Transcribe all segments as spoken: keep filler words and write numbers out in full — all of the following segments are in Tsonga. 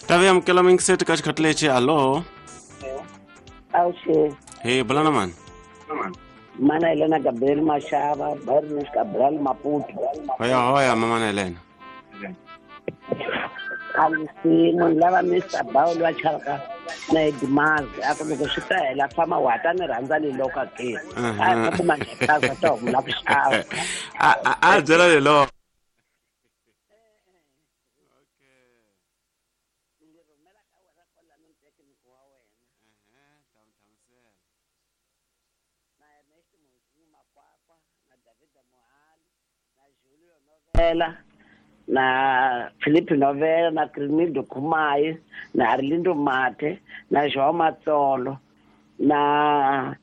Tavi amukela mingiseti ka xikhathi lexi alo. Awuxe. Hey, bulana mani. Mana Helena Gabriel Mashava, Barnes Cabral Maputo. Hoya hoya mama Helena. Alisi munhu lava Mister Bawul wa chavaka na Edmaz a ku loko swi ta hela fama wa ta ni rhandza ni loka ke. A ku manjekaza ta huma ku xava. A a byela lelo. Na Felipe Novela, na Crimildo Kumai, na Arlindo Mate, na João Matsolo, na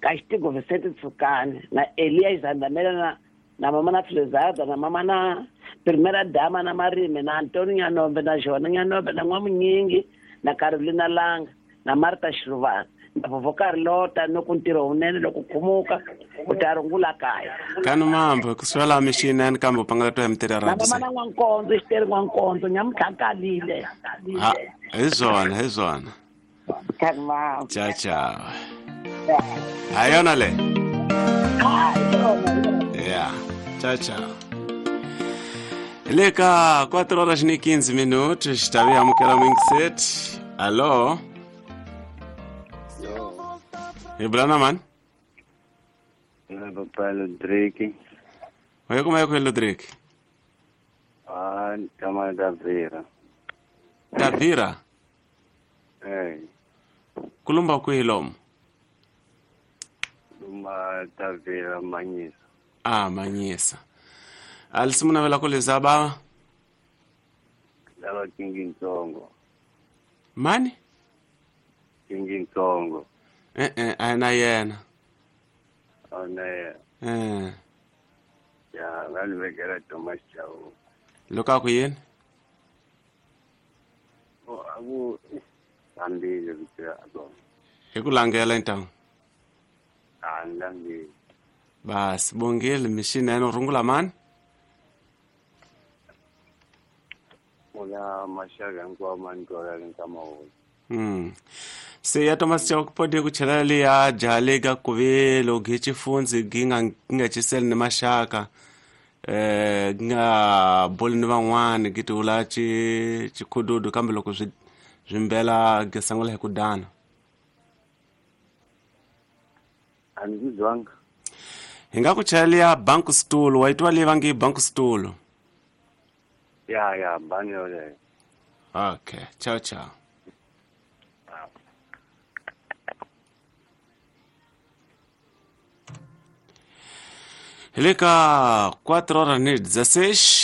Castigo Vicente Tsukane, na Elias Andamela, na, na Mama na Filizada, na Mama na Primeira Dama, na Marime, na Antônio Nhanombe, na Joana Nhanombe, na Nwamunyingi, na Carolina Lang, na Marta Shiruvana, na vovó Carlota, no kuntiro unene loko khumuka u ta rungula kaya. Kanu mambo kuswela mishini kambe pangala to emtira na mama na N'wankondzo xiteri N'wankondzo nyamutlhakalile. Ha hi swona hi swona. Kanu mambo. Ciao ciao. Ha yona le. Ha yona. Yeah. Ciao ciao. Le ka quatro horas e quinze minutos, tavi amukela mingset. Allo. Hey, Brana man. Papa Ludriki. Oye, como é que é Ludriki? Ah, chama Davira. Davira? Eh. Kulumba kwihi lomu? Kulumba Davira Manyisa. Ah, Manyisa. Alisimu navela kuleza baba? Lava Kingi Ntsongo. Mani? Kingi Ntsongo. Eh eh, ana yena. Ana yena. Eh. Ya, ngalivekela Thomas Chauke. Lokho ku yini? Oh, aku hambile kuthi akho. Hi ku langela intango. Ah, ngilangile. Bas, bongile mishini eno rungula mani? Ola mashaka hinkwawo ma ni twalaka nkama wona. Mm. Se ya Thomas Chauke pode ku chela le ya jale ga kuvelo gichifundzi ginga ginga chisel ni mashaka eh ginga boli ni van'wani gitula chi chikhududu kambe loko swi swimbela gisangula hi ku dana. A ni zwanga. Hi nga ku chela ya bank stool wa itwa le vangi bank stool. Ya ya bani yoleyo. Okay, ciao ciao. Hi le ka quatro horas ni dezesseis.